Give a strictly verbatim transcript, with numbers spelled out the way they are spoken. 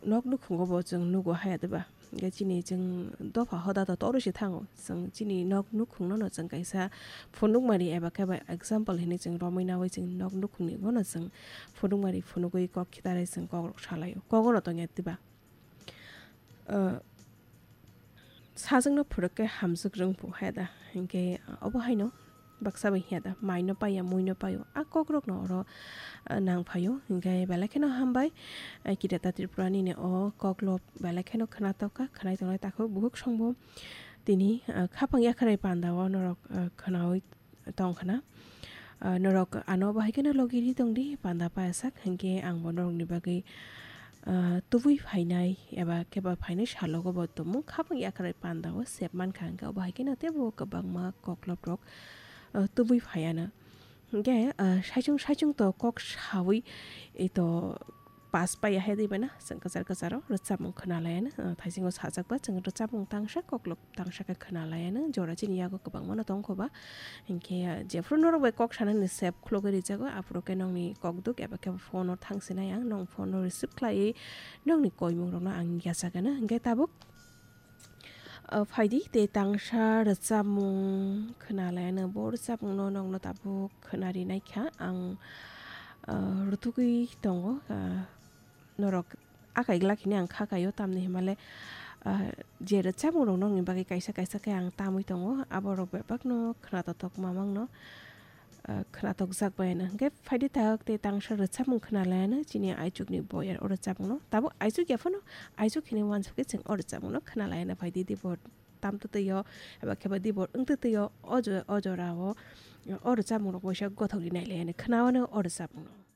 nok nukhungo bo chwng nugo haya diba? Hwnkhe chini chwng dopha hoda to toro se thango. Chwng chini nok nukhungno no chwng kaisa phunukmari eba khe ba example hinwi chwng romwi nawi chwng nok nukhungni bono chwng phunukmari phunugwi kok khitarwi chwng kokrok salaio. Kogono tongya diba? Ah, sajwkno phwrwk khe hamjwk rwngphu haya da? Hinkhe obo haino baksa bai hiya da, maino paiya, muino paio, a kokrokno oro, ah, nang phaio. Hinkhe belai kheno hambai, ah, Kirata Tripura nini o koklop belai kheno khwnatok kha, khwnai tongnai takhuk bukhuk songbo tini, ah, khapang yakharai panda o norok, ah, khwnaui tong khna. Ah, norok ano bahai kheno logi ri tong di, panda payasak, hinkhe ang bo norokni bagwi, ah, tubui phainai eba khe ba phainai salogo bo tumung khapang yakharai panda o sep mankha, hinkhe o bahai kheno teibo kwbangma koklop rok, ah, tubui phaiano. Hinkhe, ah, saichung saichung to kok saui, eh, to pass paiya hai di bana, chwng kwchar kwcharo rwchapmung khwna laiano, ah, thaisingo sajak ba chwng rwchapmung tangsa koklop tangsa khe khwna laiano, jora chini yago kwbangmano tong kho ba. Hinkhe, ah, jephru norok bai kok sanani sep khulogwi rijago, aphuru khe nokni kokduk eba khe phone o thang sinai ang, nong phone o receive khlaiwi nokni koimung rokno ang yachagano. Hinkhe tabuk, ah, phaidi tei tangsa rwchapmung khwna laiano, bo rwchapmungno nokno tabuk khwna rinai kha ang, ah, rutugwi tongo, ah, norok akai glak hini ang kha kaio, tamni himale, ah, je rwchapmung rok nokni bagwi kaisa kaisa khe ang tamwi tongo, aborok bebakno khwnatok mamangno, ah, khwnatokjak bai ano. Hinkhe phaidi tak tei tangsa rwchapmung khwna laiano chini aichukni boyar o rwchapmungno. Tabuk aichuk ya phano, aichuk hini uansuk khe chwng o rwchapmungno khwna laiano phaidi dibo tamtwtwi o, eba khe ba dibo wngtwtwi o, o jo-, o jorao o rwchapmung rok waisa gothok rinai laiano khwnawano o rwchapmungno.